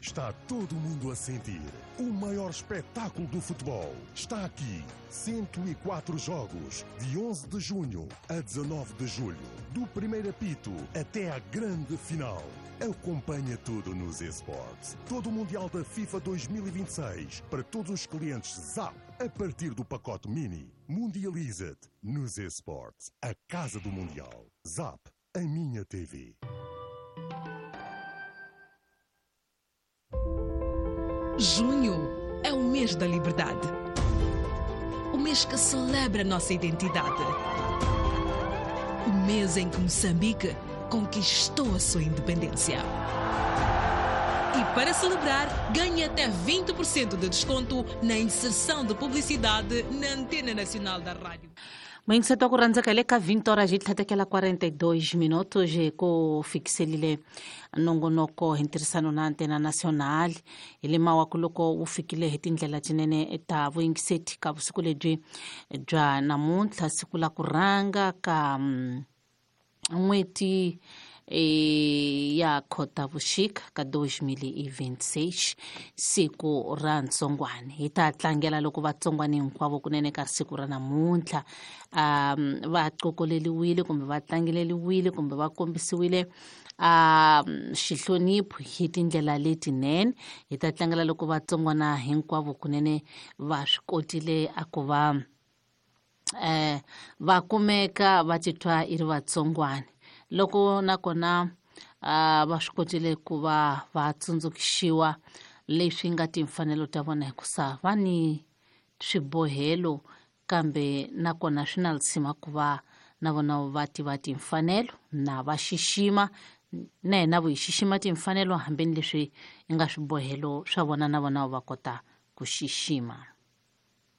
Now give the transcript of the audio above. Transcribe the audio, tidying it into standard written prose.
Está todo mundo a sentir. O maior espetáculo do futebol está aqui. 104 jogos, de 11 de junho a 19 de julho. Do primeiro apito até à grande final. Acompanha tudo nos eSports. Todo o Mundial da FIFA 2026 para todos os clientes ZAP a partir do pacote Mini. Mundializa-te nos eSports. A casa do Mundial. ZAP, a minha TV. Junho é o mês da liberdade. O mês que celebra a nossa identidade. O mês em que Moçambique conquistou a sua independência. E para celebrar, ganhe até 20% de desconto na inserção de publicidade na Antena Nacional da Rádio. Muyingiseti wa ku rhandzeka, hi le ka 20 horas hi tlhatekela 42 minutos hi ku fikiselile nongonoko hi ntirhisano na Antena Nacional. Hi le mawaku loko wu fikile hi tindlela tinene ta vuyingiseti ka vusiku lebyi bya namuntlha, siku la ku rhanga ka n'hweti ya Khotavuxika ka 2026, siku ra ntsongwani. Hi ta tlangela loko vatsongwani hinkwavo kunene ka siku ra namuntlha va qokoleliwile kumbe va tlangeleliwile kumbe va kombisiwile xihlonipho hi tindlela letinene. Hi ta tlangela loko vatsongwana hinkwavo kunene va swi kotile a ku va va kumeka va titwa i ri vatsongwani, loko nakona va swi kotile ku va va tsundzuxiwa leswi nga timfanelo ta vona, hikusa va ni swibohelo, kambe nakona swi na lisima ku va na vona va tiva timfanelo na va xixima na hina vo hi xixima timfanelo, hambeni leswi nga swibohelo swa vona, na vona va kota ku xixima.